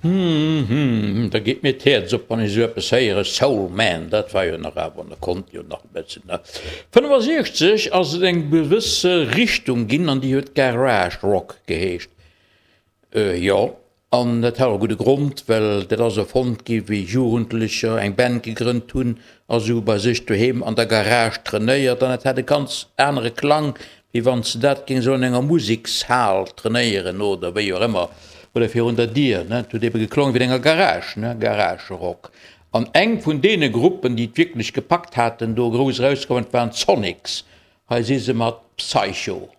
Hm, da geet mir d'Häerz op, wann ech esou eppes héieren. Soul Man, dat war jo nach awer, da konnt jo nach e bëssen, ne? 65 ass et eng gewësse Richtung ginn an déi huet Garage Rock geheescht. Jo, an dat hat och e gudde Grond, well dat ass erfonnt gi wéi Jugendlecher eng Band gegrënnt hunn a se hu bei sech doheem an der Garage trainéiert an et hat e ganz anere Klang Wéi wann s de dat géings elo an enger Musekshal trainéieren oder wéi och ëmmer, oder virun der Dier, ne? Et huet ebe geklongen wéi an enger Garage, ne? Garage-Rock. An eng vun deene Gruppen, déi et wierklech gepackt haten, do grouss erauskomm, dat waren d'Sonics. Hei si se mat Psycho.